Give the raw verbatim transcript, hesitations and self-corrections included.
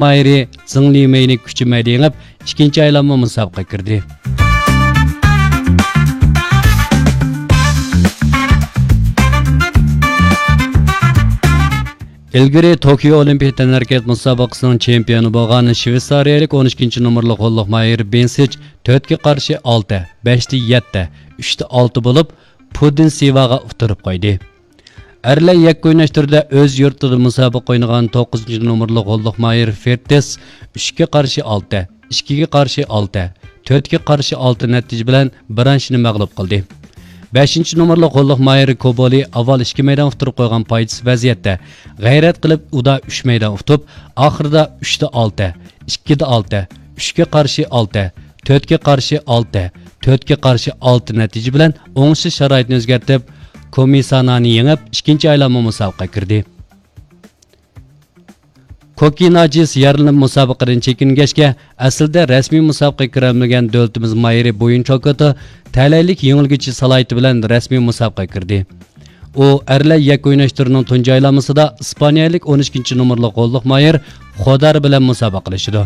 مايىرى زېڭ لىمېينى كۈچىمەيدە يېڭىپ، ئىككىنچى ئايلانما مۇسابىقىگە كىردى. ئىلگىرى توكيو ئولىمپىك تەنھەرىكەت مۇسابىقىسىنىڭ چېمپىيونى بولغان شۋېتسارىيەلىك ئون ئىككىنچى نومۇرلۇق غوللۇق ماھىرى بېنسىچ تۆتكە قارشى ئالتە، بەشتە يەتتە، ئۈچتە ئالتە بولۇپ، پۇدىن سىۋاغا ئۇتتۇرۇپ قويدى. ئەرلەر يەككە ئويناش تۈرىدە ئۆز يۇرتىدا مۇسابىقە ئوينىغان توققۇزىنچى نومۇرلۇق غوللۇق ماھىر فېرتس ئۈچكە قارشى ئالتە، ئىككىگە قارشى ئالتە، تۆتكە قارشى ئالتە نەتىجە بىلەن برانشنى مەغلۇپ قىلدى. بەشىنچى نومۇرلۇق غوللۇق ماھىر كوبولى ئاۋۋال ئىككى مەيدان ئۇتتۇرۇپ قويغان پايدىسىز ۋەزىيەتتە غەيرەت قىلىپ ئۇدا ئۈچ مەيدان ئۇتۇپ، ئاخىرىدا ئۈچتە ئالتە، ئىككىدە ئالتە، ئۈچكە قارشى ئالتە، تۆتكە قارشى ئالتە، تۆتكە قارشى ئالتە نەتىجە بىلەن ئوڭۇشلۇق شارائىتنى ئۆزگەرتىپ، كومىسانانى يېڭىپ، ئىككىنچى ئايلانما مۇسابىقىگە كىردى. كوكىناجىس يارىلىنىپ مۇسابىقىدىن چېكىنگەچكە، ئەسلىدە رەسمىي مۇسابىقىگە كىرەلمىگەن دۆلىتىمىز ماھىرى بويۇن چوكوتو تەلەيلىك يېڭىلگۈچى سالاھىيىتى بىلەن رەسمىي مۇسابىقىگە كىردى. ئۇ ئەرلەر يەككە ئويناش تۈرىنىڭ تۇنجى ئايلانمىسىدا ئىسپانىيەلىك ئون ئىككىنچى نومۇرلۇق غوللۇق ماھىر خودار بىلەن مۇسابىقىلىشىدۇ.